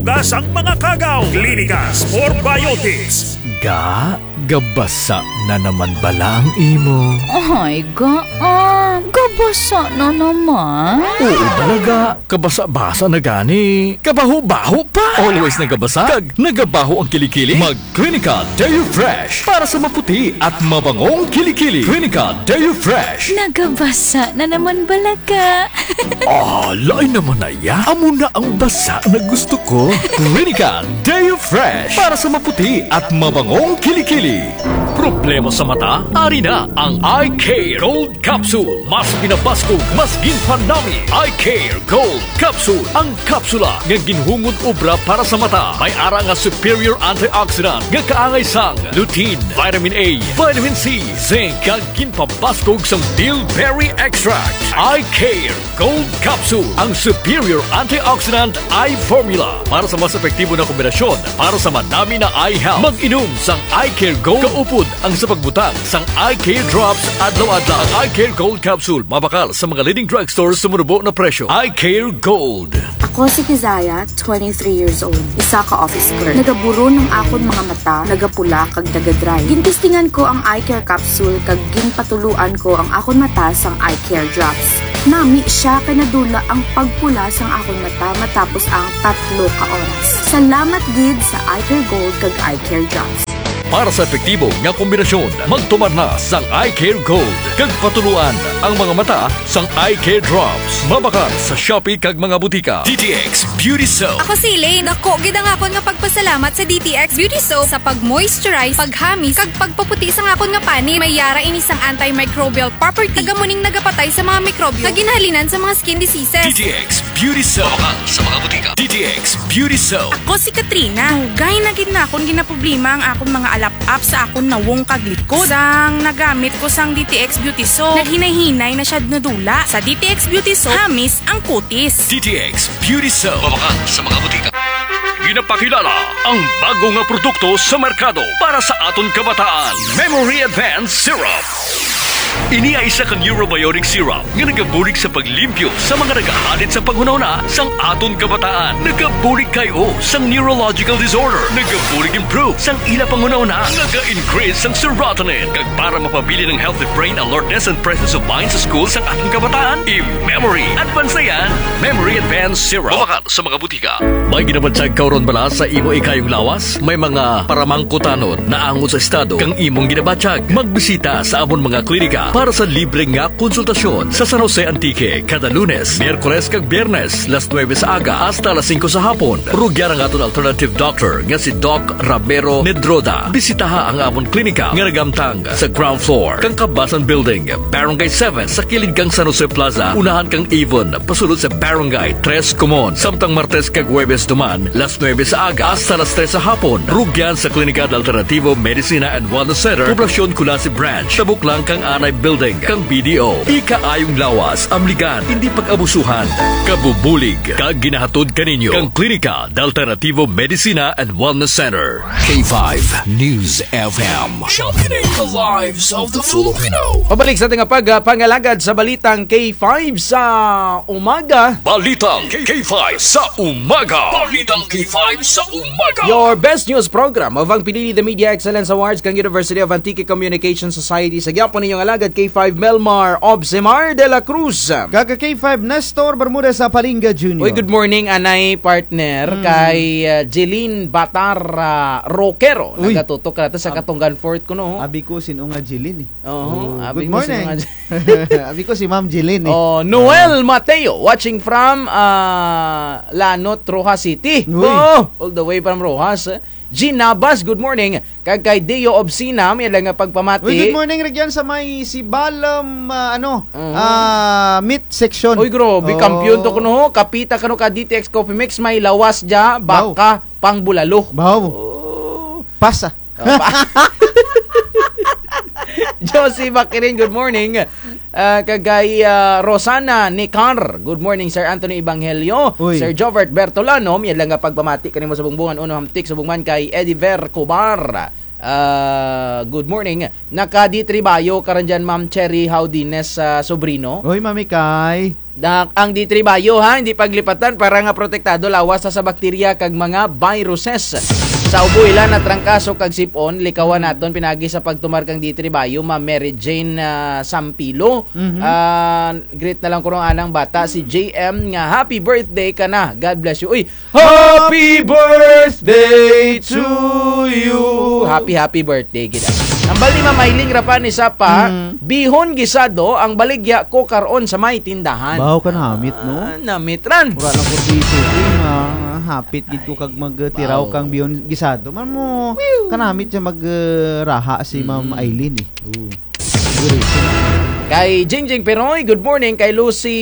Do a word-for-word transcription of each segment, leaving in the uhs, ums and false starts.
Hugas ang mga kagaw. Clinicas Probiotics. Ga, gabasa na naman bala ang imo? Ay, ga, ah, gabasa na naman. Oo, bala ga. Kabasa-basa na gani. Kabaho-baho pa. Always nagabasa. Kag nagabaho ang kilikili. Mag Clinica Deo Fresh para sa maputi at mabangong kilikili. Clinica Deo Fresh. Nagabasa na naman bala ga. Ah, lain naman na ya. Amo na ang basa na gusto ko. Clinica Deo Fresh para sa maputi at mabangong kilikili. Problema sa mata? Ari na ang Eye Care Gold Capsule. Mas pinabaskog, mas ginpanami. Eye Care Gold Capsule. Ang kapsula nga ginhungod obra para sa mata. May ara nga superior antioxidant nga kaangay sang lutein, vitamin A, vitamin C, zinc, kag ginpabaskog sang bilberry extract. Eye Care Gold Capsule, ang superior antioxidant eye formula para sa mas epektibo na kombinasyon para sa manami na eye health. Mag-inom sang Eye Care Gold kaupod ang sa pagbutang sang Eye Care Drops adlaw-adlaw. Ang Eye Care Gold Capsule mabakal sa mga leading drugstore sa manubo na presyo. Eye Care Gold. Ako si Kizaya, twenty-three years old, isa ka office clerk. Nagaburon ang akon mga mata, nagapula kag nagadry. Gintestingan ko ang Eye Care Capsule kag ginpatuloan ko ang akon mata sang Eye Care Drops. Nami siya kay nadula ang pagpula sang akon mata matapos ang tatlo ka oras. Salamat gid sa Eye Care Gold kag Eye Care Drops. Para sa epektibo nga kombinasyon, magtumar na sang Eye Care Gold kag patuloan ang mga mata sang Eye Care Drops. Mabakal sa Shopee kag mga butika. D T X Beauty Soap. Ako si Elaine. Dako gid ang akon nga pagpasalamat sa D T X Beauty Soap sa pag-moisturize, paghamis, kag pagpaputi sang akon nga panit. May ara ini sang antimicrobial property kag amo ning nagapatay sa mga mikrobyo nga ginahalinan sa mga skin diseases. D T X Beauty Soap. Mabakal sa mga butika. D T X Beauty Soap. Ako si Katrina. Dugay na gid nakon ginaproblema ang akon mga alap-ap sa akon nawong kag likod. Sang nagamit ko sang D T X Beauty Soap, naghinay-hinay na siya nadula. Sa D T X Beauty Soap, hamis ang kutis. D T X Beauty Soap. Mabakal sa mga butika. Ginapakilala ang bago nga produkto sa merkado para sa aton kabataan. Memory Advance Syrup. Ini ay isa ka neurobiotic syrup nga nagabulig sa paglimpyo sa mga nagahalid sa panghunahuna sang aton kabataan. Nagabulig kay-o sang neurological disorder. Nagabulig improve sang ila panghunahuna. Naga-increase sang serotonin. Kag para mapabilin ang healthy brain alertness and presence of mind sa school sang aton kabataan, i-memory advance na yan. Memory Advance Syrup. Mabakal sa mga butika. May ginabatyag ka run bala sa imo ikayong lawas? May mga paramangkutanon naangot sa estado kang imong ginabatyag? Magbisita sa amon mga klinika para sa libre nga konsultasyon sa San Jose, Antique, kada Lunes, Miyerkules kag Biyernes, las nuebe sa aga hasta las singko sa hapon. Rugyan ang aton alternative doctor nga si Doc Ramiro Medroda. Bisitaha ang amon klinika nga nagamtang sa ground floor kang Kabasan Building, Barangay seven, sa kilid kang San Jose Plaza, unahan kang Avon, pasulod sa Barangay Tres Comon. Samtang Martes kag Huwebes duman, las nuebe sa aga hasta las tres sa hapon, rugyan sa Klinika de Alternativo Medicina and Wellness Center, Poblacion Culasi Branch, tabok lang kang Anay Building kang B D O. Ikaayong lawas, amligan, indi pag-abusuhan. Kabubulig kag ginahatod kaninyo kang Klinika de Alternativo Medicina and Wellness Center. K five News F M. Championing the lives of the Filipino. Pabalik sa ating pag-, ah, pangalagad sa balitang K five sa umaga. Balitang K five sa umaga. Balitang K five sa umaga. Your best news program of ang Pinili The Media Excellence Awards kang University of Antique Communication Society. Sa gihapon ninyong alagad K five Melmar Obsemar de la Cruz. Kag ka K five Nestor Bermudez sa Palinga Junior. Uy, good morning, anay partner, mm, kay, ah, Jeline Batar, ah, Roquero. Uy. Nagatutok ka nato sa Ab-, Katungan Fort kuno, ho. Abi ko, sin-o nga Jeline, eh. Oo, oh, abi ko, sin-o nga Jeline. Abi ko si Ma'am Jeline, eh. Oh, Noel, ah, Mateo, watching from, ah, Lanot, Roxas City. Uy. Oh, all the way from Roxas. Jean Nabas, good morning. Kag kay Deo Obsina, may lang nga pagpamati. Uy, good morning, rugyan sa may Sibalom, ah, ano, mhm, ah, meat section. Uy, grabe, oh, kampiyon to kuno, ho. Kapita kano ka D T X Coffee Mix, may lawas dya, wow, baka, pangbulalo. Wow. Oh. Pasa. Oh, pa-, Josie Bakirin, good morning. Ah, kag kay, ah, Rosana Nicar. Good morning, Sir Anthony Evangelio. Uy. Sir Jovert Bertolano, may lang nga pagpamati kanimo sa Bungbungan, uno hamtik, subong man kay Ediver Cobar. Ah, good morning. Naka-D three bayo ka run dyan, Ma'am Cherry Haudines, ah, Sobrino. Uy, Mami Kay. Da-, ang D three Bio, ha, hindi paglipatan para nga protektado lawas sa, sa bakterya kag mga viruses. Sa ubo, ilan na trangkaso kag sip-on, likawan naton pinaagi sa pagtumar kang D three Bio, Ma'am Mary Jane, ah, Sampilo. Mhm. Ah, greet na lang kuno anang bata, si J M, nga happy birthday kana. God bless you. Uy, Happy birthday to you. Happy, happy birthday, gid. Hambal ni Ma'am Aileen Rapanes Sapa, Mm. bihon gisado ang baligya ko karon sa may tindahan. Baw kanamit, no? Ah, namit ran. Wara lang ko dito, eh, nga hapit gid ko kag magtiraw Baw. kang bihon gisado. Man mo, kanamit siya mag, eh, raha si Ma'am Mm. Aileen, eh. Oo. Kay Jingjing Peroy, good morning. Kay Lucy,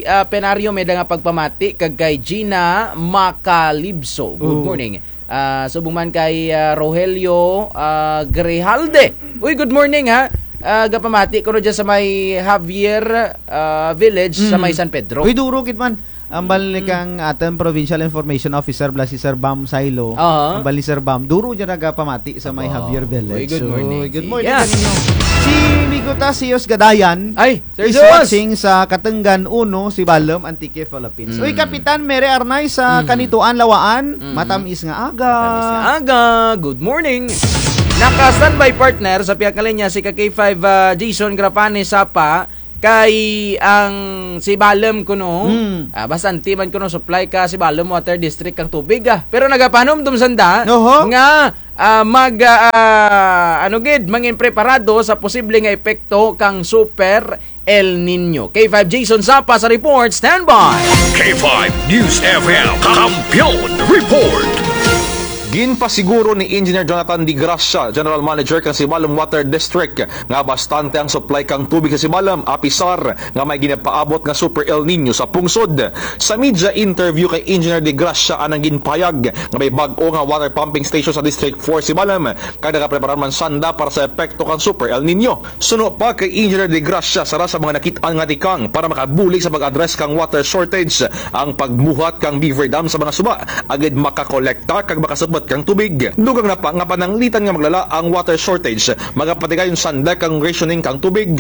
ah, Penario, may da nga pagpamati. Kag kay Gina Macalibso, good Oh. morning. Ah, subong man kay, ah, Rogelio, ah, Grijalde. Uy, good morning, ha. Ah, gapamati kuno dyan sa may Javier, ah, Village, sa Mm. may San Pedro. Uy, duro gid man. Hambal ni Mm. kang atun Provincial Information Officer, bala si Sir Bam Sailo. Aha. Hambal ni Sir Bam. Duro dyan nagapamati sa may Aba. Javier Village. Uy, good So, morning. good morning Yeah. kaninyo. Si Migo Tasios Gadayan Ay, Sir is Sus. watching sa Katenggan uno, Sibalom, Antique, Philippines. Mm. Uy, Kapitan Mary Arnay sa Mm. Kanituan, Lawaan. Mm. Matamis nga aga. Matamis nga aga. Good morning. Naka-standby partner sa pihak nga linya si ka K five, ah, Jason Grafane Sapa. Kay ang Sibalom kuno, Hmm. ah, bastante man kuno supply ka Sibalom Water District kang tubig, ah. Pero nagapahanumdom sanda Oho. nga, ah, mag, ah, ano gid, mangin preparado sa posible nga epekto kang Super El Niño. K five Jason Sapa sa report, standby. K five News F M, Kampiyon Report. Ginpasiguro ni Engineer Jonathan De Gracia, General Manager kang Sibalom Water District, nga bastante ang supply kang tubig sa Sibalom, apisar nga may ginapaabot nga Super El Niño sa pungsod. Sa media interview kay Engineer De Gracia, anang ginpahayag nga may bag-o nga water pumping station sa District four Sibalom, kag nagapreparar man sanda para sa epekto kang Super El Niño. Suno pa kay Engineer De Gracia, sara sa mga nakit-an nga tikang para makabulig sa pag-address kang water shortage ang pagbuhat kang beaver dam sa mga suba, agud makakolekta kag makasupot kang tubig. Dugang na pa nga pananglitan nga maglala ang water shortage, magapatigayon sanda kang rationing kang tubig.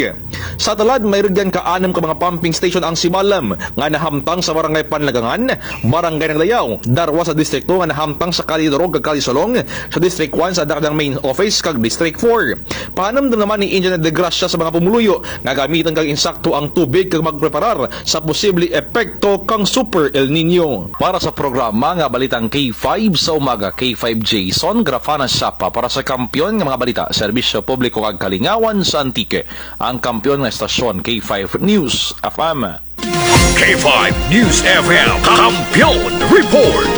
Sa tulad, may rugyan ka anum ka mga pumping station ang Sibalom nga nahamtang sa Barangay Panlagangan, Barangay Naglayaw, darwa sa distrikto nga nahamtang sa Kali Durog kag Kali Sulong, sa District one sa Dakdang Main Office kag District four. Pahanumdom naman ni Engineer De Gracia sa mga pumuluyo nga gamitan kag insakto ang tubig kag magpreparar sa posible epekto kang Super El Niño. Para sa programa nga Balitang K five sa umaga, K five Jason Grafana Sapa para sa kampiyon nga mga balita, serbisyo publiko kag kalingawan sa Antique, ang kampiyon nga estasyon, K five News F M. K five News F M, Kampiyon Report.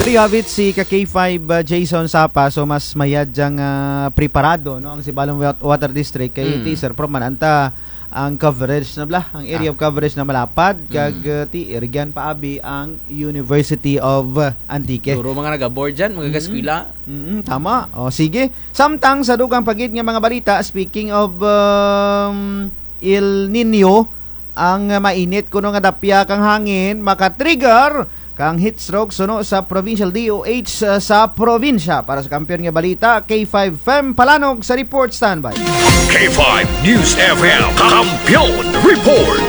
Diri hapit si ka K five, uh, Jason Sapa, so mas mayad dyang, uh, preparado, no, ang Sibalom Wat-, Water District kay Mm. ti Sir Pro man anta ang coverage na bala, ang area Ah. of coverage na malapad, kag, Mm. uh, ti rugyan paabi ang University of, uh, Antique. Duro mga nagaboard dyan, mga Mm. kaskwela. Mm, tama. O, sige. Samtang sa dugang pa gid nga mga balita, speaking of, um, El Niño, ang mainit kuno nga dapya kang hangin maka-trigger kang heat stroke suno sa provincial D O H sa probinsya. Para sa kampiyon nga balita, K five Fem Palanog sa report, standby. K five News F M, Kampiyon Report.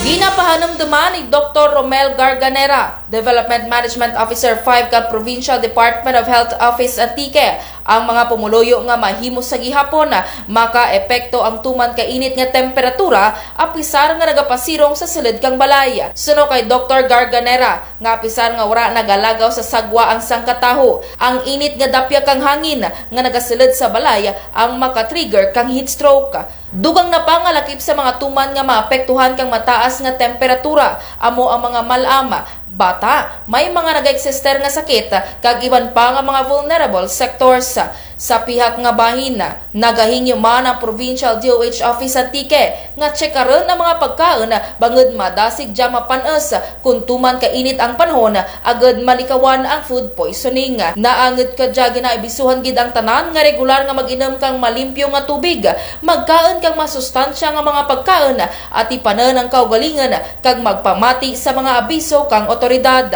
Ginapahanumduman ni Doktor Romel Garganera, Development Management Officer five kang Provincial Department of Health Office Antique, ang mga pumuluyo nga mahimo sa gihapon makaepekto ang tuman ka init nga temperatura, apisar nga nagapasirong sa sulud kang balay. Suno kay Doktor Garganera, nga apisar nga wara nagalagaw sa sagwa ang sangka taho, ang init nga dapya kang hangin nga nagasulud sa balay ang makatrigger kang heat stroke. Dugang na pa nga lakip sa mga tuman nga maapektuhan kang mataas nga temperatura, amo ang mga mal-am, bata, may mga nagaeksister nga sakit, kag iban pa nga mga vulnerable sectors. Sa pihak nga bahin, nagahingyo man ang Provincial D O H Office Antique nga tsekarun ang mga pagkaun bangud madasig dya mapan-us kon tuman ka init ang panahon, agud malikawan ang food poisoning. Naangud kadya ginaabisuhan gid ang tanan nga regular nga mag-inum kang malimpyo nga tubig, magkaun kang masustansya nga mga pagkaun, atipanun ang kaugalingun, kag magpamati sa mga abiso kang awtoridad.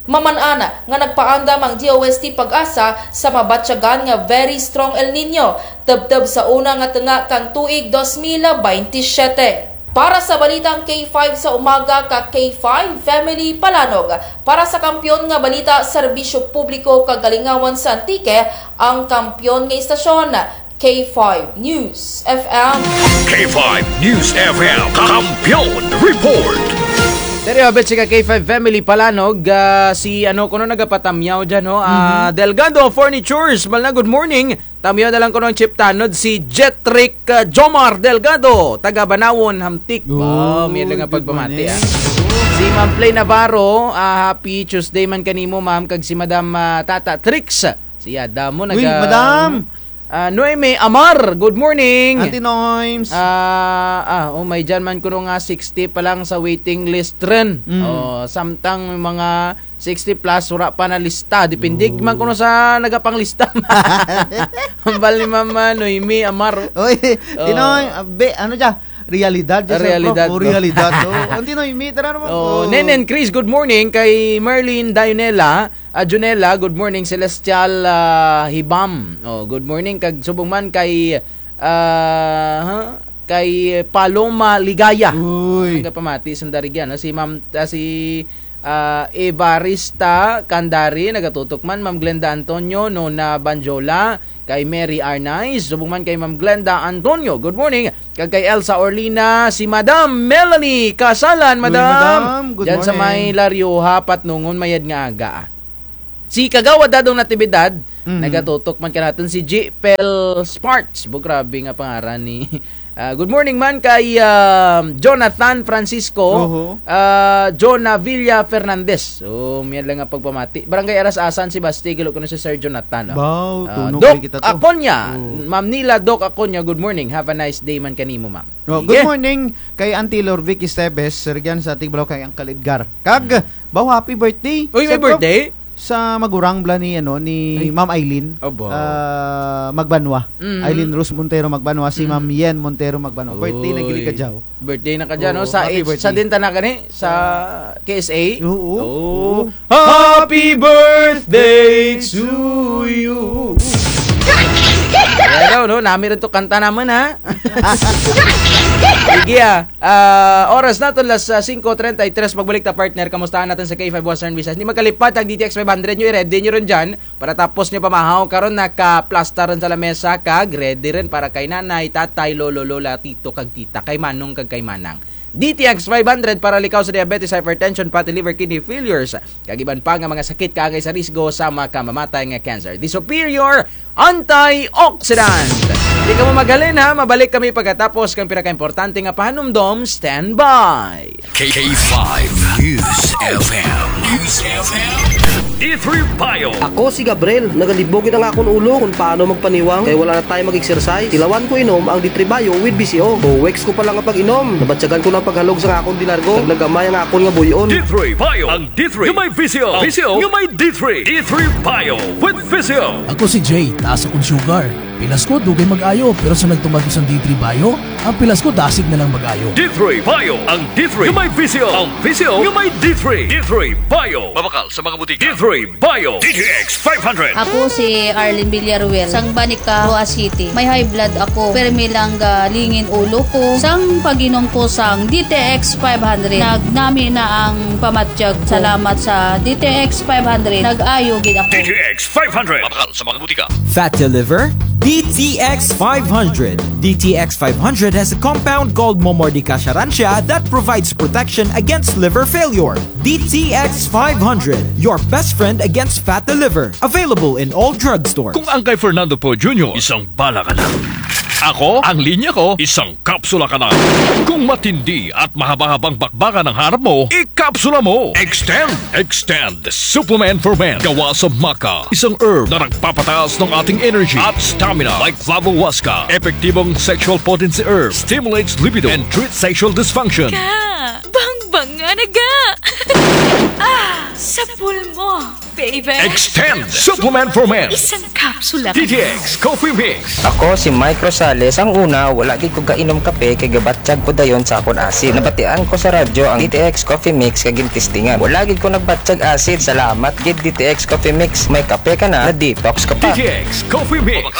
Maman-an nga nagpaandam ang D O S T PAGASA sa mabatyagan nga very strong El Niño, tubtub sa una nga tunga kang tuig dos mil baynte syete. Para sa balitang K five sa umaga, ka K five Family Palanog. Para sa kampiyon nga balita, serbisyo publiko kag kalingawan sa Antique, ang kampiyon nga istasyon, K five News F M. K five News F M, Kampiyon Report. Diri, abet si ka K five Family Palanog, ah, si ano kuno nagapatamyaw dyan, ho? Ah, Mhm. Delgado Furnitures, mal na, good morning. Tamyaw na lang kuno ang Chief Tanod, si Jetrick, ah, Jomar Delgado, taga Banawon, Hamtic. Oh, may lang nga pagpamati, ah. Si Ma'am Play Navarro, ah, happy Tuesday man kanimo, ma'am, kag si Madam, ah, Tata Trix. Si Adam mo, Uy, naga-, Madam! Ah, Noemi Amar, good morning. Auntie Noims. Ah, ah, oh, may dyan man kuno nga sixty pa lang sa waiting list rin. Mm. Oh, samtang mga sixty plus, wara pa nalista. Depende man kuno sa nagapanglista. Hambal ni Mama Noemi Amar. Oy, Tinoy, ah, be, ano dya? Realidad dya, sir, bro. Realidad, oh, realidad, oh. Auntie Noemi, tara naman. Oh, Nenen Chris, good morning. Kay Merlin Dionela, ah, Junela, good morning. Celestial, ah, Hibam. Oh, good morning. Kag subong man kay, ah, ha? Kay Paloma Ligaya. Uy. Nagapamati, sanda rugyan, no? Si Ma'am, ah, si, ah, Evarista Candari, nagatutok man. Ma'am Glenda Antonio, Nona Banjola, kay Mary Arnaiz, subong man kay Ma'am Glenda Antonio. Good morning. Kag kay Elsa Orlina, si Madam Melanie Kasalan, Uy, Madam. Madam, good morning. Dyan sa may Larioha, Patnongon, mayad nga aga, ah. Si Kagawad Dadong Natividad, mhm, nagatutok man kanatun, si G P L Sparks. Bo, grabe nga pangaran ni, ah, good morning man kay, ah, Jonathan Francisco, oho, ah, Jonah Villa Fernandez. So, miyan lang nga pagpamati. Barangay Aras-asan, Sebaste, galo kuno si Sir Jonathan, no? Baw, ah, tunok Doc kay kita to. Aconia. Oh. Ma'am Nila, Doc Aconia, good morning. Have a nice day man kanimo, ma'am. Oh, sige. Good morning kay Auntie Lorvic Esteves, rugyan sa Tigbalaw kay Uncle Edgar. Kag, hmm, baw, happy birthday. Uy, may birthday? Sa magurang bala ni, ano, ni Ma'am Aileen, aba, ah, Magbanwa. Mhm. Aileen Rose Montero Magbanwa, si Ma'am Yen Montero Magbanwa. Birthday na gid kadya. Birthday na kadya, no? Oh, sa happy birthday. Sa din tana gani? Sa K S A? Oo. Oh. Happy birthday to you. Ayan daw, no? Nami rin to kanta naman, ha? Sige, ah. Ah, oras natun alas, ah, singko treinta y tres. Pagbalik ta, partner, kamustahan natun sa K five Western Visayas. Hindi magkalipad, ang D T X five hundred nyo, i-ready nyo rin dyan. Para tapos nyo pamahaw, karon nakaplastar rin sa lamesa, kag ready rin para kay nanay, tatay, lolo, lola, tito, kag tita, kay manong, kag kay manang. D T X five hundred para likaw sa diabetes, hypertension, fatty liver, kidney failures, kag iban pa nga mga sakit kaangay sa risgo sa makamamatay nga cancer. The Superior Antioxidant. Di kamo maghalin, ha, mabalik kami pagkatapos kang pinakaimportante nga pahanumdom. Stand by. K five News F M. News F M. D three Bio. Ako si Gabriel. Nagalibog gid ang akon ulo kon paano magpaniwang kay wala na tayo mag-exercise. Tilawan ko inom ang D three Bio with V C O. Two weeks ko pa lang nga pag-inom, nabatyagan ko na ang paghalog sa akon dinargo kag nagamay ang akon nga buy-on. D three Bio. Ang D three nga may V C O. V C O nga may D three. D three Bio with V C O. Ako si Jay, taas akong sugar. Pilas ko, dugay mag-ayo, pero sa nagtuman ko sang D three Bio, ang pilas ko dasig na lang mag-ayo. D three Bio, ang D three nga may V C O, ang V C O nga may D three. D three Bio. Mabakal sa mga butika. D three Bio. D T X five hundred. Ako si Arlene Villaruel, sang Banica, Roxas City. May high blood ako, permi lang galingin ulo ko. Sang pag-inom ko sang D T X five hundred, nagnami na ang pamatyag. Salamat sa D T X five hundred, nag-ayo gid ako. D T X five hundred. Mabakal sa mga butika. Fatty liver? D T X five hundred. D T X five hundred has a compound called Momordica charantia that provides protection against liver failure. D T X five hundred, your best friend against fatty liver. Available in all drugstores. Kung ang kay Fernando Poe Junior, isang bala ka na. Ako, ang linya ko, isang kapsula ka na. Kung matindi at mahaba-habang bakbakan ang harap mo, ikapsula mo. Extend, Extend Superman for Men. Gawa sa maca, isang herb na nagpapataas ng ating energy at stamina, like Flavo Huasca. Epektibong sexual potency herb, stimulates libido and treats sexual dysfunction. Ka, bangbanga na ga. Ah, sa pulmo. Extend Supplement for Men. Isang kapsula. D T X Coffee Mix. Ako si Mike Rosales. Ang una, wala gid ko gainom kape kay gabatyag ko dayon sa akon acid. Nabatian ko sa radyo ang D T X Coffee Mix kag gintestingan. Wala gid ko nagbatyag acid. Salamat gid D T X Coffee Mix. May kape ka na, na-detox ka pa. D T X Coffee Mix.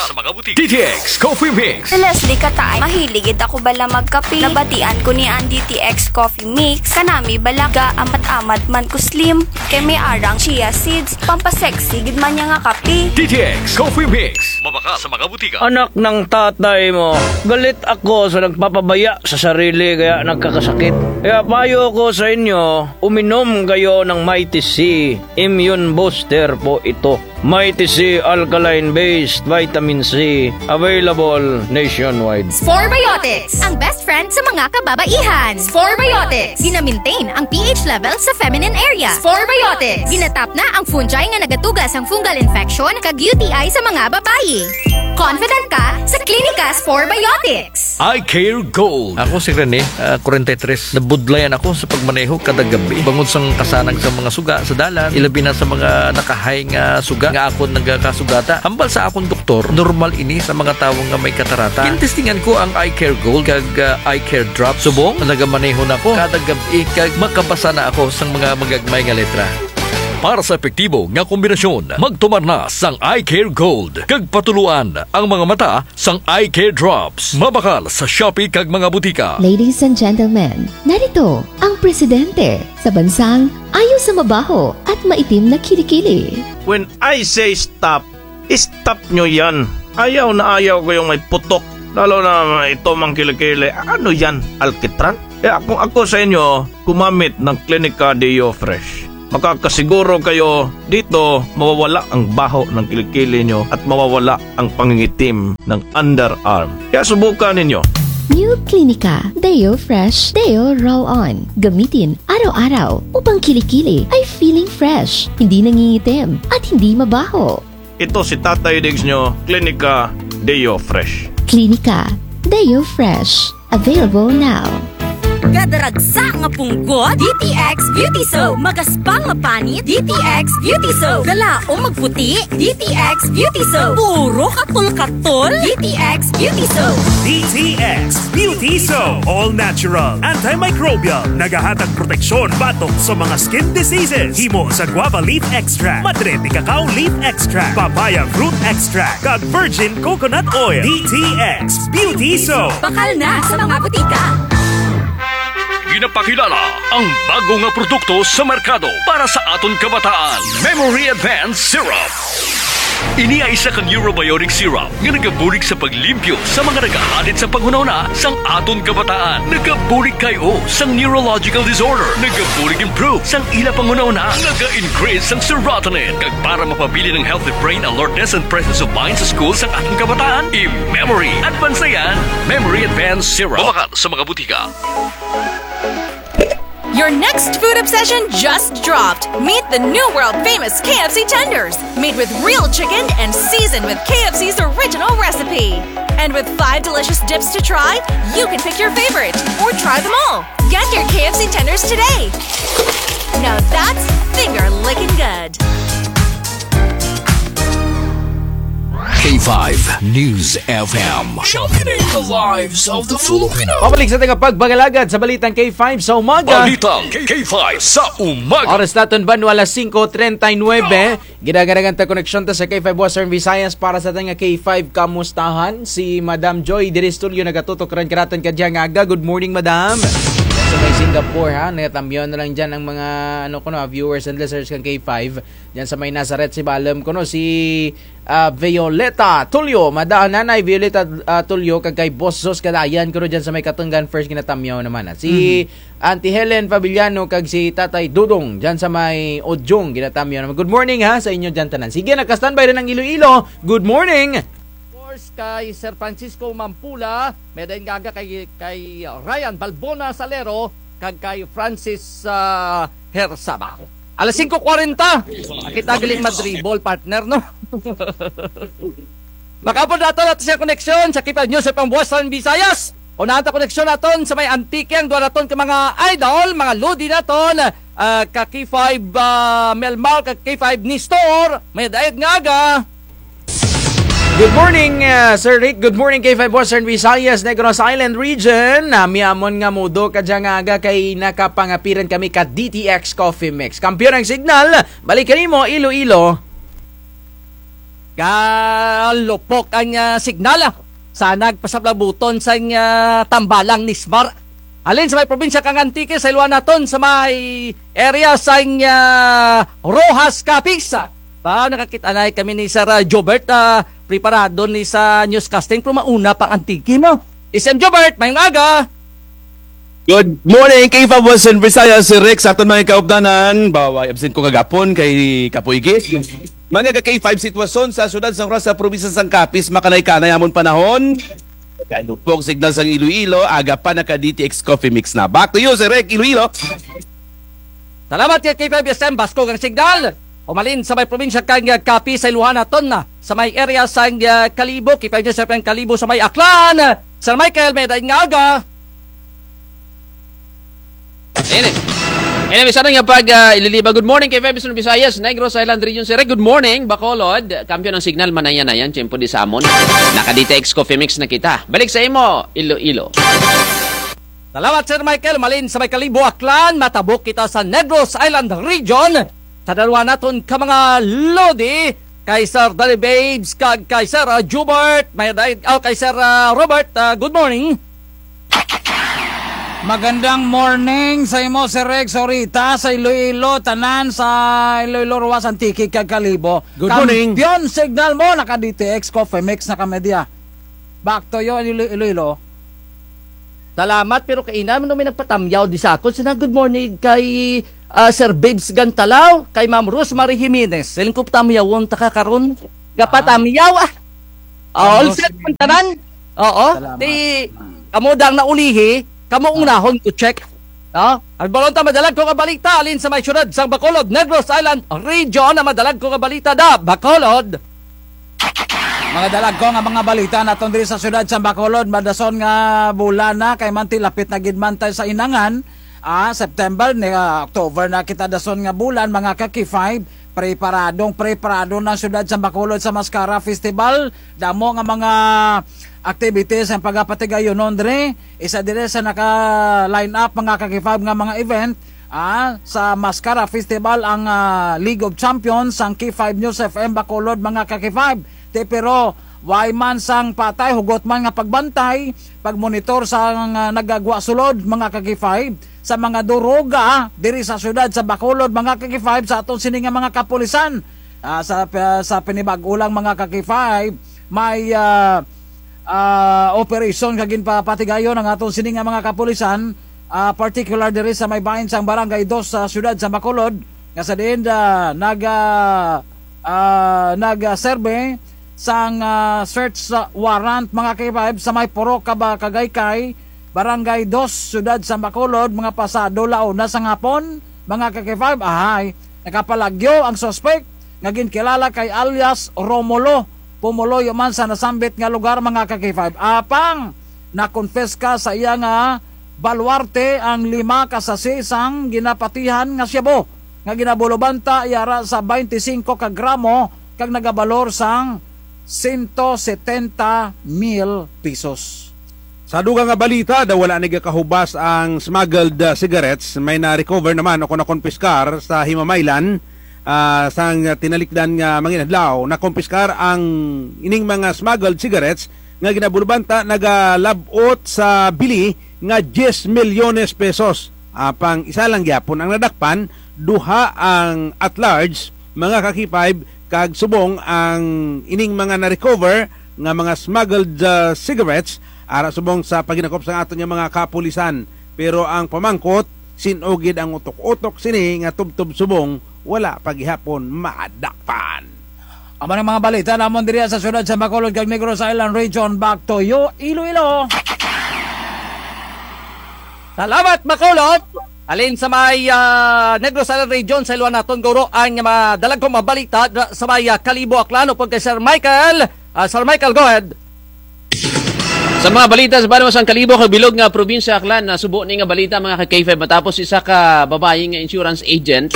D T X Coffee Mix. Si Leslie Katay, mahilig gid ako bala magkape. Nabatian ko ni ang D T X Coffee Mix. Kanami bala gaamat-amat man ko slim. Kay may ara ang chia seeds. Pampasexy gid man niya nga kape. D T X Coffee Mix. Mabakal sa mga butika. Anak ng tatay mo, galit ako sa nagpapabaya sa sarili kaya nagkakasakit. Kaya payo ko sa inyo, uminom kayo ng Mighty C. Immune booster po ito. Mighty C alkaline-based vitamin C, available nationwide. Spore Biotics, ang best friend sa mga kababaihan. Spore Biotics, gina-maintain ang P H level sa feminine area. Spore Biotics, ginatap na ang fungi nga nagatuga sang fungal infection kag U T I sa mga babayi. Confident ka sa Clinica Spore Biotics. Eye Care Gold. Ako si Rene, ah, kwarenta y tres. Nabudlayan ako sa pagmaneho kada gabi. Bangod sang kasanag sa mga suga sa dalan, ilabi na sa mga nakahay nga suga nga akon nagakasugata. Hambal sa akon doktor, normal ini sa mga tawo nga may katarata. Gintestingan ko ang Eye Care Gold kag, ah, Eye Care Drop. Subong, nagamaneho na ako kada gab-i kag makabasa na ako sang mga magagmay nga letra. Para sa epektibo nga kombinasyon, magtumar na sang Eye Care Gold kag patuloan ang mga mata sang Eye Care Drops. Mabakal sa Shopee kag mga butika. Ladies and gentlemen, narito ang presidente sa bansang ayaw sa mabaho at maitim na kilikili. When I say stop, stop nyo yan. Ayaw na ayaw ko yung may putok. Lalo na ito mang kilikili. Ano yan? Alkitran? Kaya kung ako sa inyo, gumamit ng Clinica Deo Fresh. Makakasiguro kayo dito mawawala ang baho ng kilikili nyo at mawawala ang pangingitim ng underarm. Kaya subukan ninyo. New Clinica Deo Fresh Deo Roll On. Gamitin araw-araw upang kilikili ay feeling fresh, hindi nangingitim, at hindi mabaho. Ito si Tatay Diggs nyo, Clinica Deo Fresh. Clinica Deo Fresh. Available now. Kadaragsa nga punggot, D T X Beauty Soap. Magaspang nga panit, D T X Beauty Soap. Galaom magputi, D T X Beauty Soap. Puro katol-katol, D T X Beauty Soap. D T X Beauty Soap. All natural, antimicrobial. Nagahatag proteksyon batok sa mga skin diseases. Himo sa guava leaf extract, madre de cacao leaf extract, papaya fruit extract, kag virgin coconut oil. D T X Beauty Soap. Bakal na sa mga butika. Ginapakilala ang bago nga produkto sa merkado para sa aton kabataan, Memory Advance Syrup. Ini ay isa ka neurobiotic syrup nga nagabulig sa paglimpyo sa mga nagahalid sa panghunahuna sang aton kabataan. Nagabulig kay-o sang neurological disorder. Nagabulig improve sang ila panghunahuna. Naga-increase sang serotonin. Kag para mapabilin ang healthy brain alertness and presence of mind sa school sang aton kabataan, i-Memory Advance na yan. Memory Advance Syrup. Mabakal sa mga butika. Your next food obsession just dropped. Meet the new world famous K F C tenders, made with real chicken and seasoned with K F C's original recipe. And with five delicious dips to try, you can pick your favorite or try them all. Get your K F C tenders today. Now that's finger licking good. K five News F M. Championing the lives of the Filipino. Pabalik sa aton pagpangalagad sa balitang K five sa umaga. Balitang K five sa umaga. Oras naton banwa alas singko treinta y nuebe. Ginaganahan ta koneksyon ta sa K five Western Visayas para sa aton nga K five kamustahan. Si Madam Joy diri studio nagatutok run kanaton kadyang aga. Good morning, Madam. Sa may Singapore, ha, natamyaw na lang dyan ang mga, ano kuno, viewers and listeners kang K five. Dyan sa may Nazareth, si Balem kuno, si, ah, Violeta Tulio. Mada-, Nanay Violeta, ah, Tulio, kag kay Boss Zos Kadayan kuno dyan sa may Katungan First, ginatamyaw naman. At si Auntie Helen Fabiliano kag si Tatay Dudong dyan sa may Ojong, ginatamyaw naman. Good morning, ha, sa inyo dyan tanan. Sige, naka-standby run ang Iloilo. Good morning. Of course, kay Sir Francisco Mampula, may dayon nga aga kay, kay Ryan Balbona Salero, kag kay Francis, ah, Hersaba. Alas singko kwarenta. Kita gali madribble, partner, no? Makaupod naton aton sa koneksyon sa K five News F M Western Visayas. Unahan ta koneksyon naton sa may Antique, ang duha naton ka mga idol, mga lodi naton, ah, ka K five, ah, Melmar, ka K five Nestor, mayad-ayad nga aga. Good morning, ah, Sir Rick. Good morning, K five Western Visayas, Negros Island Region. Nami amon nga modo kadya nga aga kay nakapangapiran kami ka D T X Coffee Mix. Kampiyon ang signal. Balik kanimo, Iloilo. Galupok ang, ah, signal, ah. Sa nagpasablabuton sa, ah, tambalang Nismar. Halin sa may probinsya kang Antique, sa ilohan naton sa may area sa, ah, Roxas, Capiz. Ba, nakakit-anay kami ni Sir, ah, Jobert, ah, preparado ni sa newscasting, pero mauna pang Antique, no? S M Jobert, mayong aga. Good morning, K five Western Visayas, Sir Rick, sa aton mga kaupdanan. Baway, absent ko kagapon kay Kapoy Gi. Mga ka K five, sitwasyon sa syudad sang Roxas, probinsya sang Capiz, makanay-kanay amon panahon. Galupok signal sang Iloilo, aga pa naka D T X Coffee Mix na. Back to you, Sir Rick, Iloilo. Salamat kay K five S M, baskog ang signal. Umalin sa may probinsya kang Capiz, sa ilohan naton na. Sa may area sang, ah, Kalibo, K five News F M Kalibo sa may Aklan. Sir Michael, mayad-ayad nga aga. Ini. Ini, bisan nga pag, ah, ililiba. Good morning, K five Western Visayas, Negros Island Region, Sir Rick. Good morning, Bacolod. Kampiyon ang signal, manaya-naya, tiyempo di sa amon. Naka D T X Coffee Mix na kita. Balik sa imo, Iloilo. Salamat, Sir Michael. Umalin sa may Kalibo, Aklan, matabok kita sa Negros Island Region. Sa darwa naton ka mga lodi, kay Sir Danny Babes, kag kay Sir, ah, Jubert, mayad-ayad, oh, kay Sir, ah, Robert, ah, good morning. Magandang morning sa imo, Sir Rex, Orita, sa Iloilo, tanan sa Iloilo, Roxas, Antique, kag Kalibo. Good morning. Kampiyon signal mo, naka D T X Coffee Mix na kami diya. Back to you, Ilo-, Iloilo. Salamat, pero kaina man may nagpatamyaw di sa akon. Sina, good morning kay, ah, Sir Babes Gantalaw, kay Ma'am Rosemary Jimenez. Siling ko patamyawon ta ka karon. Gapatamyaw, ah. Ah, all set man tanan. Oo. Salamat. Ti, kamo dang naulihi, kamo unahon ko check. No? Ang balon ta, madala ko nga balita, halin sa may syudad sang Bacolod, Negros Island Region, ang madala ko nga balita da, Bacolod. Mga dalagko nga mga balita naton diri sa syudad sa Bacolod, madason nga bulan na, kay man ti lapit na gid man tay sa inangan, ah, September, ni, ah, October na kita dason nga bulan, mga ka-K five, preparadong preparado na ang syudad sa Bacolod sa Mascara Festival, damo nga mga activities ang pagapatigayunon diri, isa diri sa naka-line up, mga ka-K five, nga mga event, ah, sa Mascara Festival ang, ah, League of Champions, ang K five News F M Bacolod, mga ka-K five. Ti pero, way man sang patay, hugot man nga pagbantay, pagmonitor sa, ah, nagagwa sulod, mga ka-K five, sa mga duruga, diri sa syudad sa Bacolod, mga ka-K five, sa aton sini nga mga kapulisan. Ah, sa, sa pinibag-o lang, mga ka-K five, may, ah, ah, operasyon nga ginpapatigayon ang aton sini nga mga kapulisan, ah, particular diri sa may bahin sang Barangay Dos sa syudad sa Bacolod, nga sa diin, ah, nag, ah, ah, nag, ah, serbe sang, ah, search, ah, warrant, mga ka-K five, sa may Purok Caba, Cagaicay, Barangay Dos, syudad sa Bacolod, mga pasado la una sang hapon, mga ka-K five, ahay, nakapalagyo ang suspek nga ginkilala kay alias Romulo. Pumuluyo man sa nasambit nga lugar, mga ka-K five. Apang nakonpiska sa iya nga baluarte ang lima ka sachet sang ginapatihan nga shabu nga ginabulubanta yara sa baynte singko ka gramo kag nagabalor sang sento setenta mil pesos. Sa dugang nga balita, daw wala ni gakahubas ang smuggled, ah, cigarettes, may na-recover naman o kon nakonpiskar sa himamaylan, ah, sang tinalikdan nga manginadlaw. Nakonpiskar ang ining mga smuggled cigarettes nga ginabulubanta nagalab-ot sa bili nga diyes milyones pesos. Apang isa lang gyapon ang nadakpan, duha ang at large, mga ka-K five, kag subong ang ining mga na-recover nga mga smuggled, ah, cigarettes, ara subong sa paghinakop sang aton nga mga kapulisan. Pero ang pamangkot, sin-o gid ang utok-utok sini nga tubtob subong, wala pa gihapon madakpan. Amo ni ang mga balita namon diri sa syudad sa Bacolod kag Negros Island Region. Back to you, Iloilo. Salamat, Bacolod. Halin sa may, ah, Negros Island Region, sa ilohan naton guro ang mga dalagkong mga balita dra-, sa may, ah, Kalibo, Aklan, upod kay Sir Michael. Ah, Sir Michael, go ahead. Sa mga balita sa banwa sang Kalibo kag bilog nga probinsya Aklan, nasubo ni nga balita, mga ka-K five, matapos isa ka babayi nga insurance agent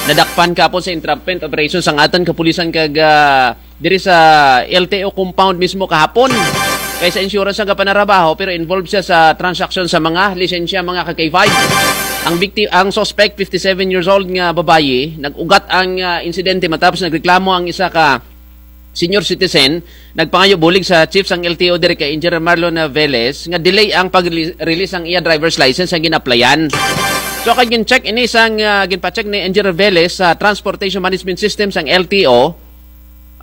nadakpan kahapon sa entrapment operation sang atun kapulisan kag, ah, diri sa L T O compound mismo kahapon. Kay sa insurance ang gapanarabaho, pero involved siya sa transaksyon sa mga lisensya, mga ka-K five. Ang bikti-, ang suspect, fifty-seven years old nga babayi, nag-ugat ang, ah, insidente matapos nagreklamo ang isa ka senior citizen, nagpangayo bulig sa chief sang L T O diri kay Engineer Marlon Velez nga delay ang pag-release ang iya driver's license ang gin-applyan. So, kag gin-check ini sang, ah, ginpa-check ni Engineer Velez sa transportation management system sang L T O,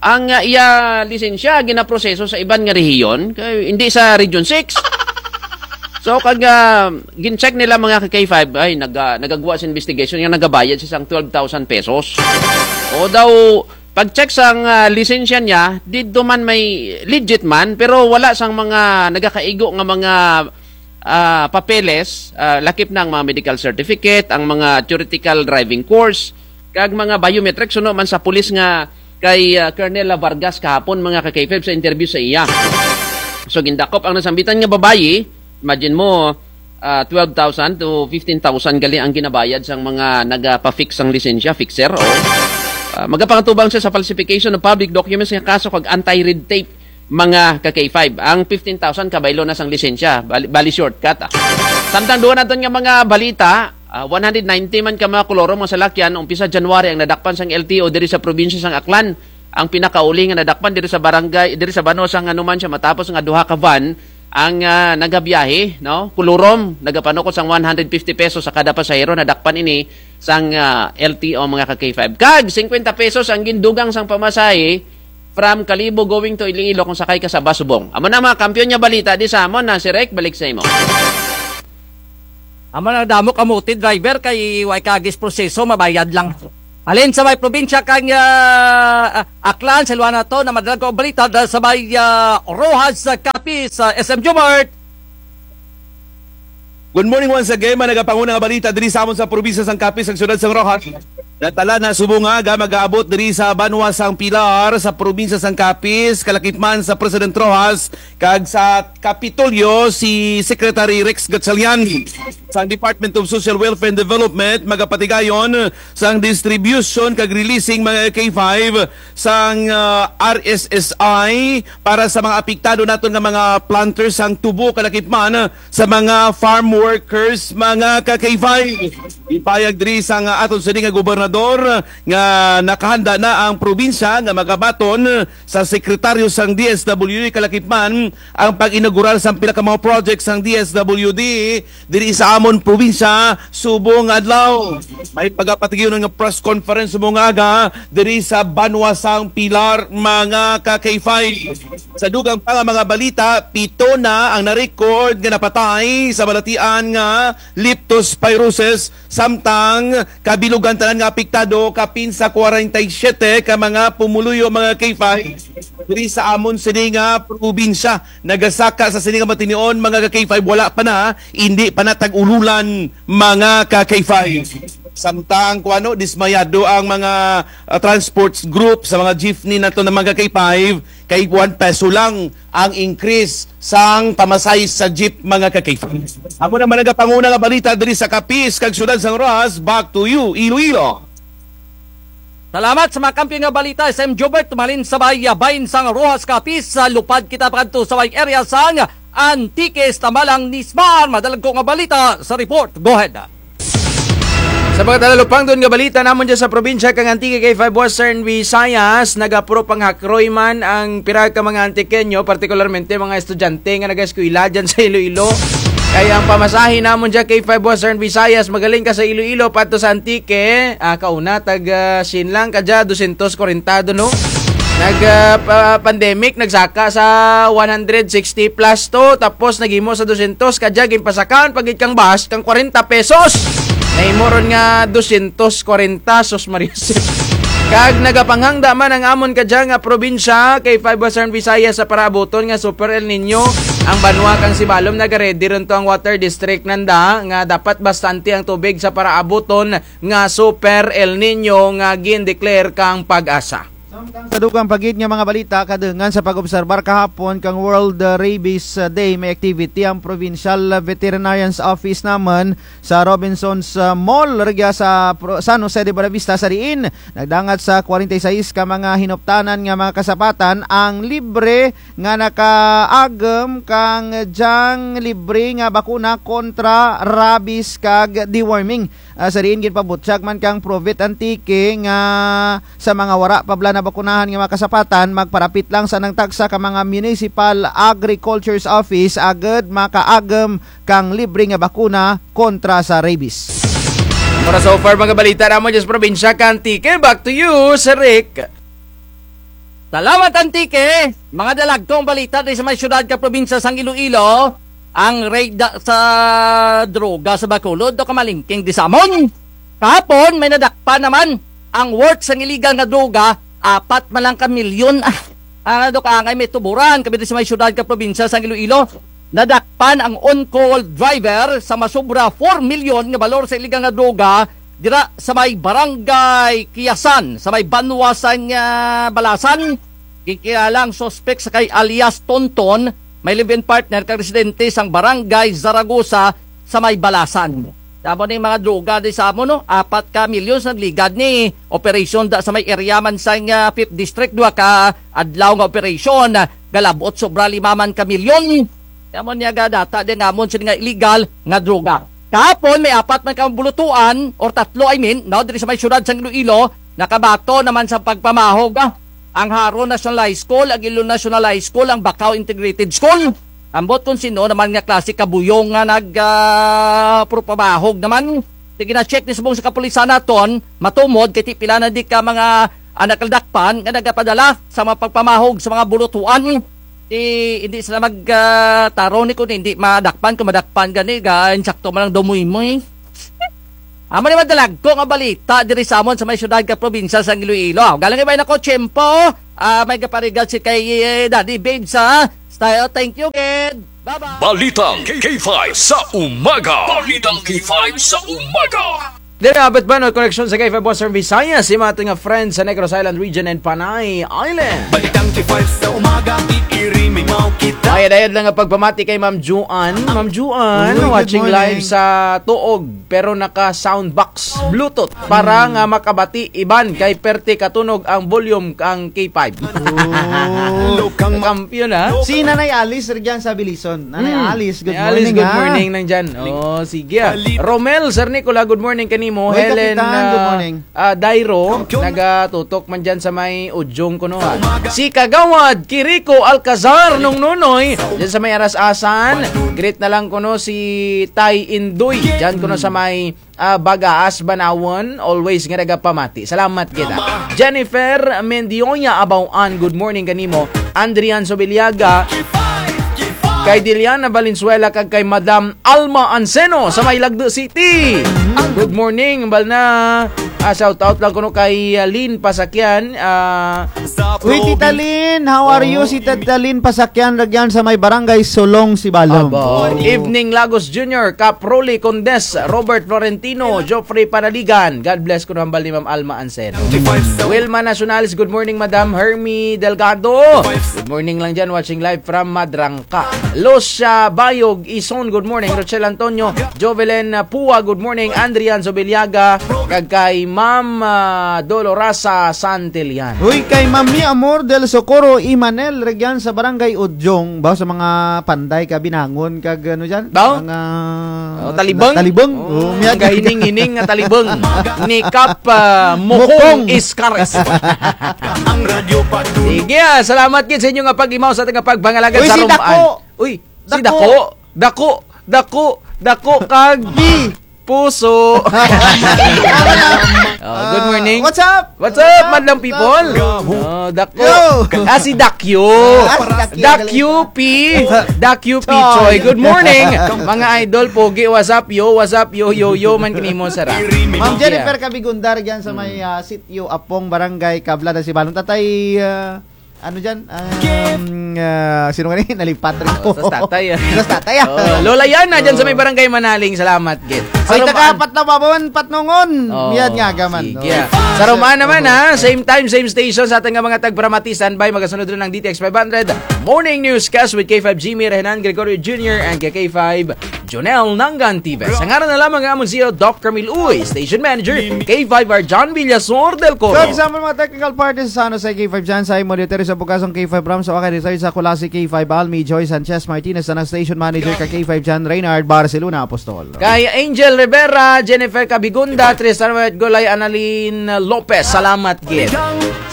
ang, ah, iya lisensya ginaproseso sa iban nga rehiyon, kay hindi sa Region six. So, kag, ah, gin-check nila, mga ka-K five, ay, nag-, ah, nagagwa sa investigation nga nagabayad siya sang twelve thousand pesos. O daw, pag-check sang, ah, lisensya niya, didto man may legit man, pero wala sang mga nagakaigo nga mga, ah, papeles, ah, lakip na ang mga medical certificate, ang mga theoretical driving course, kag mga biometrics, suno man sa pulis nga kay, ah, Colonel Vargas kahapon, mga ka-K five, sa interview sa iya. So, gindakop ang nasambitan nga babayi, imagine mo, ah, twelve thousand to fifteen thousand gali ang ginabayad sang mga nagapa-fix sang lisensya, fixer, o. Ah, magapangatubang siya sa falsification of public documents nga kaso kag anti-red tape, mga ka-K five. Ang fifteen thousand kabaylo na sang lisensya, bali, bali shortcut, ah. Samtang duwa natun nga mga balita, ah, one hundred ninety man ka mga kolorom nga salakyan, umpisa January ang nadakpan sang L T O diri sa probinsya sang Aklan. Ang pinakauli nga nadakpan diri sa barangay, diri sa banwa sang Anumancia matapos nga duha ka van ang, ah, nagabiyahe, no? Kolorom, nagapanukot sang one hundred fifty pesos sa kada pasahero, nadakpan ini sang, ah, L T O, mga ka-K five. Kag singkwenta pesos ang gindugang sang pamasahe from Kalibo going to Iloilo kung sakay ka sa bus, Bong. Amo na mga kampiyon nga balita, di sa amon na si Rek, balik sa imo. Amo na, damo kamuti driver kay way kagis proseso, mabayad lang. Halin sa may probinsya kang, ah, ah, Aklan, sa luwa nato, namadala ko balita da sa may, ah, Roxas, ah, Capiz, ah, S M Jomart. Good morning once again, mga nagapanguna nga balita diri sa amon sa probinsya sang Capiz, sa siyudad sang Roxas. Natala na subong nga aga mag-aabot diri sa banwa sang Pilar, sa probinsya sang Capiz, kalakip man sa President Roxas, kag sa Kapitolyo si Secretary Rex Gatchalian. Sang Department of Social Welfare and Development, magapatigayon sang distribution kag releasing, mga K five sang, ah, R S S I para sa mga apektado naton nga mga planters sang tubo, kalakip man sa mga farm workers, mga ka-K five. Ipahayag diri sang aton sini nga gobernador nga nakahanda na ang probinsya nga magabaton sa sekretaryo sang D S W D, kalakip man ang pag-inaugurar sang pila ka mga project sang D S W D diri sa amon probinsya subong adlaw. May pagapatigayon nga press conference subong nga aga diri sa banwa sang Pilar, mga ka-K five. Sa dugang pa nga mga balita, pito na ang na-record nga napatay sa balatian nga leptospirosis, samtang kabilugan tanan nga apektado, kapin sa kwarenta y siyete ka mga pumuluyo, mga K five, diri sa amon sini nga probinsya. Nagasaka sa sini nga matinion, mga ka-K five, wala pa na, indi pa na tag-ululan, mga ka-K five. Samtang kuno, dismayado ang mga, ah, transports group sa mga jeepney nato na, mga ka-K five, kay one peso lang ang increase sang pamasahe sa jeep, mga ka-K five. Amo na man ang panguna nga balita diri sa Capiz kag siyudad sang Roxas. Back to you, Iloilo. Salamat sa mga kampiyon nga balita, S M Jobert, tumalin sa may, ah, bahin sang Roxas, Capiz. Sa lupad kita pakadto sa may area sang Antique, tama lang ni Smar. Madala ko nga balita sa report. Go ahead. Sa pagkatalupangdon nga balita namun dyan sa probinsya kang Antique kay Five Western Visayas, nagapuro panghakroy man ang pira ka mga Antiqueño, partikularmente mga estudyante nga nagaeskwela dyan sa Iloilo. Kay ang pamasahe namun dyan kay Five Western Visayas, magaling ka sa Iloilo pato sa Antique, ah, kauna tag, ah, singkwenta lang, kadya dosyentos kwarenta do, no? Nag, ah, pa-, pandemic, nagsaka sa one hundred sixty plus to, tapos naghimo sa dosyentos, kadya ginpasakaon pa gid kang bus kang kwarenta pesos. Nahimo ron nga dosyentos kwarenta, sus Maria Jose. Kag nagapanghangda man ang amon kadya nga probinsya kay Five Western Visayas sa paraabuton nga Super El Niño. Ang banwa kang Sibalom nagaredy ron to ang water district nanda nga dapat bastante ang tubig sa paraabuton nga Super El Niño nga gin-declare kang PAGASA. Sa dugang pa gid nga mga balita, kadungan sa pag-obserbar kahapon kang World, uh, Rabies, uh, Day, may activity ang Provincial Veterinarian's Office namun sa Robinson's, uh, Mall, rugya sa Pro-, San Jose de Buenavista, sa diin nagdangat sa kwarenta y sais ka mga hinuptanan nga mga kasapatan ang libre nga nakaagum kang dyang libre nga bakuna kontra rabies kag deworming. Ah, sa diin ginpabutyag man kang Provet Antique nga sa mga wara pa bala nabakunahan nga mga kasapatan, magparapit lang sa nangtagsa ka mga municipal agriculture's office agud makaagum kang libre nga bakuna kontra sa rabies. Para so far, mga balita namun dyan sa probinsya ka Antique. Back to you, Sir Rick. Salamat, Antique. Mga dalagkong balita diri sa may syudad ka probinsya sang Iloilo, ang raid da-, sa droga sa Bacolod, do kamalingking di sa amon. Kahapon, may nadakpan naman ang worth sang illegal nga droga, apat man lang ka milyon. Ah, ano do ka angay may tuburan, kami diri sa may syudad ka probinsya sang Iloilo. Nadakpan ang on-call driver sa masobra four milyon nga balor sa illegal nga droga dira sa may barangay Kiyasan, sa may banwa sang, ah, Balasan. Ginkilala ang suspek sa kay alias Tonton, may live-in partner kang residente sang barangay Zaragoza sa may Balasan. Amo ni mga droga di sa amon, no? Apat ka milyon sa nagligad ni operasyon da sa may area man sang, ah, Fifth District, duha ka adlaw nga operasyon, galab-ot sobra lima man ka milyon. Amo niya ga data di nga amon sini nga illegal nga droga. Kahapon, may apat man ka bulutuan, or tatlo, I mean, no, diri sa may syudad sang Iloilo, nakabato naman sa pagpamahog, ah, ang Jaro National High School, Aguilo National High School, ang Bacao Integrated School. Ambot kon sin-o naman nga klase ka buyong nga nag, ah, purpamahog naman. Sige, na-check ni subong sa kapulisan naton, matumod, kay ti pila na di ka mga anak nadakpan, nga nagapadala sa mga pagpamahog sa mga bulutuan. Ti, hindi sila mag, ah, tarong ni kun hindi madakpan, kun madakpan gani, ga, insakto man ang dumoy mo, eh. Amo ni madalagko nga balita diri sa amon sa may syudad ka probinsya sang Iloilo. Galang ibay nako tiyempo, ah, may gaparigad si kay, eh, Daddy Babe sa style. Thank you, kid. Bye-bye. Balitang K five sa umaga. Balitang K five sa umaga. Diri abot ba no koneksyon sa K five Western Visayas, si mga aton nga friends sa Negros Island Region and Panay Island. Balitang K five sa umaga, iirimimaw kita. Mayad-ayad lang nga pagpamati kay Ma'am Juan. Ma'am Juan, uy, good morning. Watching live sa Tuog, pero naka soundbox, Bluetooth, para nga makabati iban kay perte katunog ang volume kang K five. Oh. Kampiyon, ha? Si Nanay Alice, rugyan sa Belison. Nanay Alice, good morning, ha? Nanay Alice, good morning nang dyan. Oh, sige, ah. Romel, Sir Nicola, good morning kanimo. Hoy, Helen, Kapitan, good morning. Ah, Dairo, nagatutok man dyan sa may Ujong kuno, ah. Si Kagawad Kiriko Alcazar, Nong Nonoy, dyan sa may Aras-asan. Greet na lang kuno si Tay Indoy, dyan kuno sa may, ah, Bagaas, Banawan. Always nga nagapamati. Salamat kita. Jennifer Mendioña Abaw-an, good morning kanimo. Andrian Sobiliaga, kay Diliana Valenzuela, kag kay Madam Alma Anseno sa may Lagdo City. Good morning, bal na. Ah, shout out lang kuno kay, ah, Lynn Pasakyan, ah, uy, Tita Lynn, how are you? Si Tita Lynn Pasakyan, rugyan sa may Barangay Solong, Sibalom. Aba. Evening, Lagos Junior, Cap Rolly Condes, Robert Florentino, Geoffrey Panaligan. God bless kuno hambal ni Ma'am Alma Anseno. Wilma Nacionales, good morning, Madam Hermie Delgado. Good morning lang dyan, watching live from Madrang ka. Lucia Bayog Ison, good morning. Rochelle Antonio, Jovelyn, ah, Pua, good morning. Andrian Sobiliaga, kag kay Ma'am, ah, Dolorosa Santillan. Uy, kay Ma'am Mi Amor del Socorro Imanel, rugyan sa Barangay Ujong, ba sa mga panday ka binangon, kag ano dyan? Ba? Mga talibeng? Talibeng. Oh, kahining-hining nga talibeng. Ni Kap, ah, Mukong Iskares. Sige, ah, salamat gid sa inyo nga pag-imaw sa aton nga pagpangalagad sa Roman. Uy, si Dako. Dako, Dako, Dako kag puso. Oh, good morning. What's up? What's up, madlang people? Oh, Dako. Ah, si Dakyo. Dakyo P. Dakyo P Choi. Good morning, mga idol. Pogi, what's up, yo? What's up, yo, yo, yo? Man kanimo, sara. Ma'am Jennifer Kabigundar dyan sa may, ah, Sitio Apong, Barangay Kablada, Sibalom. Tatay, ah, Ano dyan? Um, ah, sino nga ni? Nalipat rin ko. Sa tatay, ah. Sa tatay, ah. Oh, Lola Yana, dyan sa may Barangay Manaling. Salamat, gid. Ay, taga Patnongon, Patnongon. Oh, miyad nga gaman, sige, no? Sa Roma naman, ha? Same time, same station sa atun nga mga tagparamati. Standby, magasunod run ang D T X five hundred Morning Newscast with K five Jimmy Rehenan, Gregorio Junior, and K five Jonel Nangan Tibes. Sa ngaran na lamang nga amon si Doc Camille Uy, Station Manager, K five R John Villasor del Coro. Sa kasama mga technical parties sa San Jose, K five John Simon Duterte sa Bugasong, K five Ram sa Wakay Rizal sa Culasi, K five Almi Joy Sanchez Martinez sa Station Manager ka K five John Reynard Barcelona Apostol. Kay Angel Rivera, Jennifer Cabigunda, Tristan White Golay, Annalyn Lopez. Salamat gid.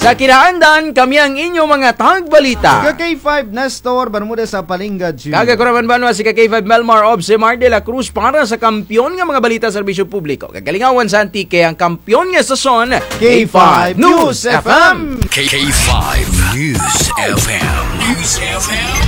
Sa kinaandan, kami ang inyo mga tagbalita. Ka K five Nestor Bermudez sa Palinga Junior. Kag ako ra man banwa si ka K five Melmar Obsemar de la Cruz para sa kampiyon nga mga balita serbisyo publiko. Kag kalingawan sa Antique ang kampiyon nga estasyon, K five News F M. K five News F M. News F M.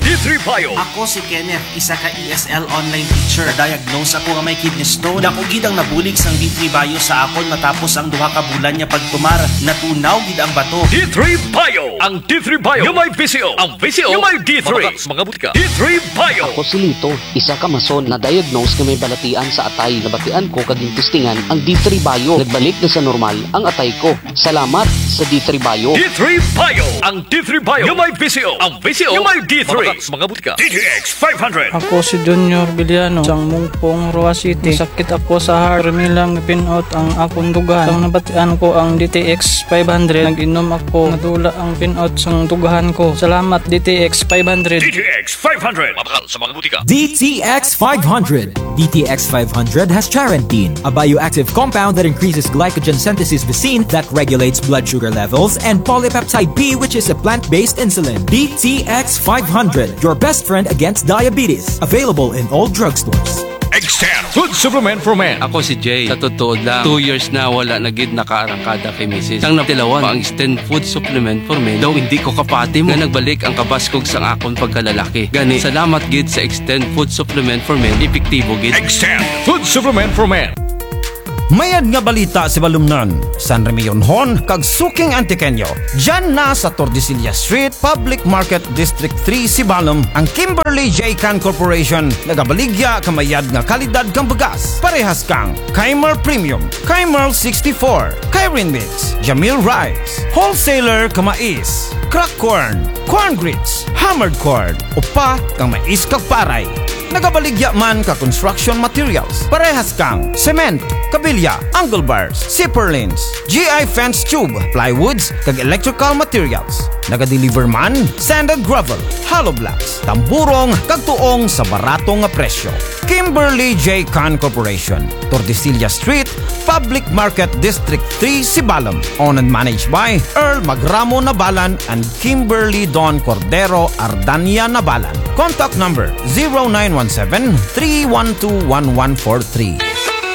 D three Bio. Ako si Kenneth, isa ka E S L online teacher. Na-diagnose ako nga may kidney stone. Dako gid ang nabulig sang D three Bio sa akon matapos ang duha ka bulan nga pagtumar. Natunaw gid ang bato. D three Bio. Ang D three Bio nga may V C O. Ang V C O nga may D three. Mabakal sa mga butika. D three Bio. Ako si Lito, isa ka mason, na-diagnose nga may balatian sa atay. Nabatian ko kag gintestingan ang D three Bio. Nagbalik na sa normal ang atay ko. Salamat sa D three Bio. D three Bio. Ang D three Bio nga may V C O. Ang V C O nga may D three. Mabakal sa mga butika. D T X five hundred. Ako si Junior Villano, sang Mungpong, Roxas City. Sakit ako sa heart. Permi lang pin-out ang akon dughan. Sang nabatian ko ang D T X five hundred, nag-inom ako. Nadula ang pin-out sang dughan ko. Salamat, D T X five hundred. D T X five hundred. Mabakal sa mga butika. D T X five hundred. D T X five hundred has charantine, a bioactive compound that increases glycogen synthesis vacin that regulates blood sugar levels, and polypeptide P, which is a plant-based insulin. D T X five hundred, your best friend against diabetes. Available in all drugstores. Extend Food Supplement for Men. Ako si Jay. Sa totoo lang, two years na wala na gid nakaarangkada kay misis. Sang natilawan pa ang Extend Food Supplement for Men, daw indi ko kapati mo nga nagbalik ang kabaskog sang akon pagkalalaki. Gani, salamat gid sa Extend Food Supplement for Men, epektibo gid. Extend Food Supplement for Men. Mayad nga balita sa balumnon, San Remillon-hon kag suking Antiqueño. Dyan na sa Tordesillas Street, Public Market, District three, Sibalom, ang Kimberly J Can Corporation, nagabaligya ka mayad nga kalidad kang bugas. Parehas kang Keimer Premium, Keimer sixty-four, Keirin Mix, Jamil Rice, wholesaler ka mais, crack corn, corn grits, hammered corn, upa kang mais kag paray. Nagabaligya man ka construction materials, parehas kang cement, kabilya, angle bars, zipper lines, G I fence tube, plywoods, kag electrical materials. Nagadeliver man sand and gravel, hollow blocks, tamburong, kag tuong sa barato nga presyo. Kimberly J Can Corporation, Tordesillas Street, Public Market, District three, Sibalom. Owned and managed by Earl Magramo Nabalan and Kimberly Don Cordero Ardania Nabalan. Contact number zero nine one seven, three one two, one one four three.